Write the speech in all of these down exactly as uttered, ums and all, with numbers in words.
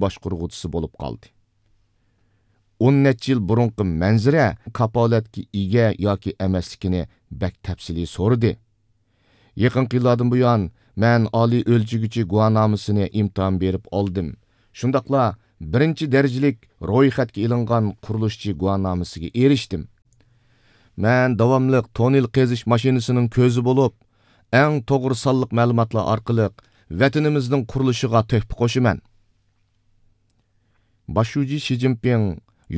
باشقۇرغۇچىسى بولۇپ قالدى. ئون نەچچە يىل بۇرۇنقى مەنزىرە كاپالەتكە ئىگە ياكى ئەمەسلىكىنى بەك تەپسىلىي سورىدى. يېقىنقى يىللاردىن بۇيان، مەن ئالىي ئۆلچىگۈچى گۇۋاھنامىسىنى ئىمتىھان بېرىپ ئالدىم. شۇنداقلا بىرىنچى دەرىجىلىك رويخەتكە ئېلىنغان قۇرۇلۇشچى گۇۋاھنامىسىگە ئېرىشتىم. مەن داۋاملىق توننېل قېزىش ماشىنىسىنىڭ كۆزى بولۇپ، ئەڭ توغرا سانلىق مەلۇماتلار ئارقىلىق ۋەتىنىمىزنىڭ قۇرۇلۇشىغا تۆھپە قوشىمەن. باش شۇجى شى جىنپىڭ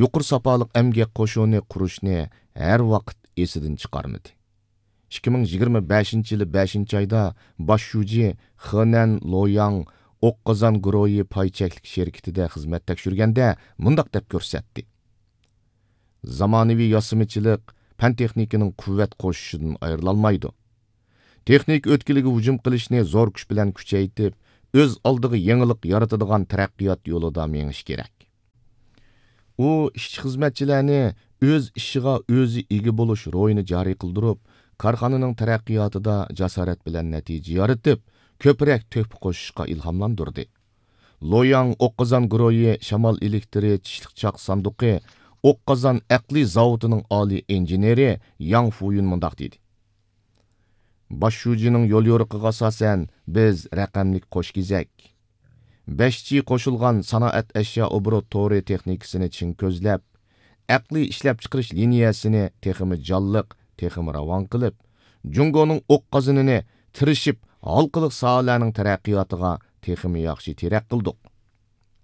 يۇقىرى ساپالىق ئەمگەك قوشۇنى قۇرۇشنى ھەر ۋاقىت ئېسىدىن چىقارمىدى. ئىككى مىڭ يىگىرمە بەشىنچى يىلى بەشىنچى ئايدا باش شۇجى خېنەن لوياڭ ئوق قازان گۇرۇھى پاي چەكلىك شىركىتىدە خىزمەت تەكشۈرگەندە مۇنداق دەپ كۆرسەتتى: زامانىۋى ياسىمىچىلىق پەن-تېخنىكىنىڭ قۇۋۋەت قوشۇشىدىن ئايرىلالمايدۇ. تېخنىكا ئۆتكىلىگە ھۇجۇم قىلىشنى زور كۈچ بىلەن كۈچەيتىپ، ئۆز ئالدىغا يېڭىلىق يارىتىدىغان تەرەققىيات يولىدا مېڭىش كېرەك. ئۇ ئىشچى-خىزمەتچىلەرنى ئۆز ئىشىغا ئۆزى ئىگە بولۇش روھىنى جارى قىلدۇرۇپ، كارخانىنىڭ تەرەققىياتىدا جاسارەت بىلەن نەتىجە يارىتىپ، كۆپرەك تۆھپە قوشۇشقا ئىلھاملاندۇردى. لوياڭ ئوق قازان گۇرۇھى شامال ئېلېكتىرى چىشلىق چاق ساندۇقى ئوق قازان ئەقلىي زاۋۇتىنىڭ ئالىي ئىنژېنېرى ياڭ فۇيۈن مۇنداق دېدى: باش شۇجىنىڭ يوليورۇقىغا ئاساسەن، بىز رەقەملىك قوش كېزەك، بەش جى قوشۇلغان سانائەت ئەشيا ئوبوروت تورى تېخنىكىسىنى چىڭ كۆزلەپ، ئەقلىي ئىشلەپچىقىرىش لىنىيەسىنى تېخىمۇ جانلىق، تېخىمۇ راۋان قىلىپ، جۇڭگونىڭ ئوق قازىنىنى تىرىشىپ ھالقىلىق ساھەلەرنىڭ تەرەققىياتىغا تېخىمۇ ياخشى تىرەك قىلدۇق.